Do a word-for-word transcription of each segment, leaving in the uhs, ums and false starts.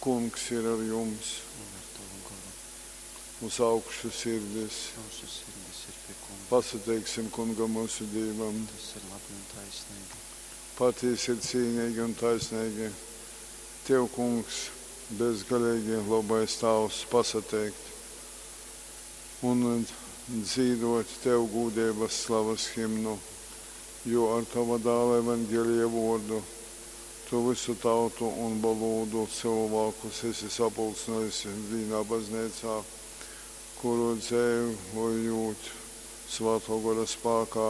Kungs ir ar jums. Un ar tovu goru. Uz augšu sirdis. Mūsu sirdis ir pie Kunga. Pasateiksim Kungam mūsu Dīvam. Tas ir labi un taisnīgi. Patiesi ir cīnīgi un taisnīgi. Tev, Kungs, bezgalīgi labais Tāvs, pasateikt un dzīvot Tev gūdības slavas himnu, jo ar Tava dāla evaņģēlija vārdu Tu visu tautu un valūdu cilvēkus esi sapulcinājis vienā baznīcā, kuru dzīvojot Svētō Gora spēkā.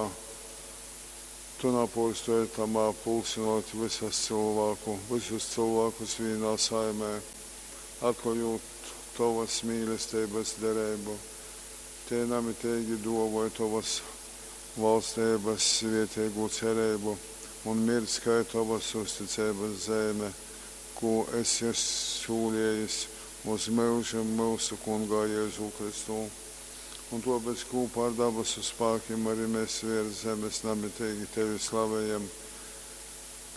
Tu napūrstoji tamā pulcinot visas cilvēku, visus cilvēkus vienā saimē, atklājot tavas mīlestības derību. Te namitīgi dāvoja tavas valstības svētīgu cerību un mirdz kā tavas uzticības zeme, ko esi solījis uz mūžiem mūsu Kungā Jēzu Kristu. Un tāpēc kopā ar dabasu spēkiem arī mēs virs zemes namitīgi tevi slavējam.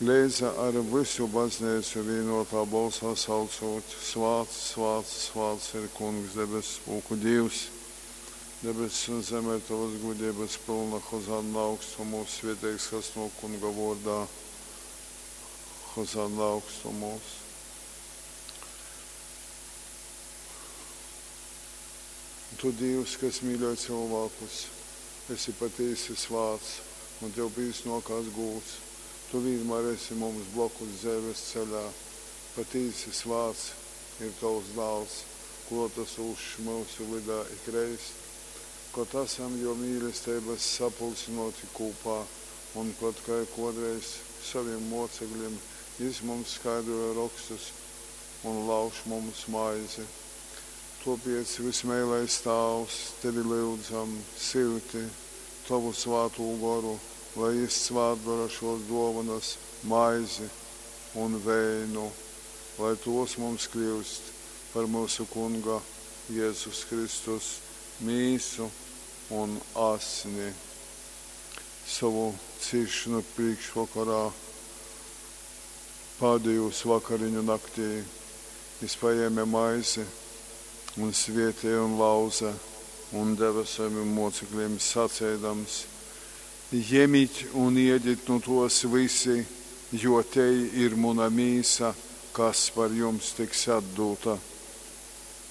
Leidza ar visu baznīcu vienotā balsā saucot: Svāts, svāts, svāts ir Kungs, debesu spūku Dievs. Debesis un zeme ir tavas gudrības pilna, Hozanna augstumos, svētīgs, kas no Kunga vārdā. Hozanna augstumos. Tu, Dievs, kas mīļo cilvēkus, esi patiesi svāts, un tev bijis nokās gūts. Tu vienmēr esi mums blokus dzīves ceļā. Patiesi svāts ir tavs dāls, klotasūšs mūsu vidā ikreiz, kad esam jo mīlestības sapulcinoti kopā, un kad kā kādreiz saviem mocekļiem jis mums skaidroja rakstus un lauž mums maizi. Tāpēc, vismīlais Tāvs, tevi lūdzam, silti tavu svātū goru, lai jis svātdara šos dovanas, maizi un vēnu, lai tos mums kļūst par mūsu Kunga Jēzus Kristus mīsu un asni. Savu cīšanu priekšvakarā, pēdējos vakariņu naktī, jis paēma maizi un svētīja un lauza un deva saviem mocekļiem sacēdams: Ņemiet un ēdiet no tos visi, jo te ir mana mīsa, kas par jums tiks atdota.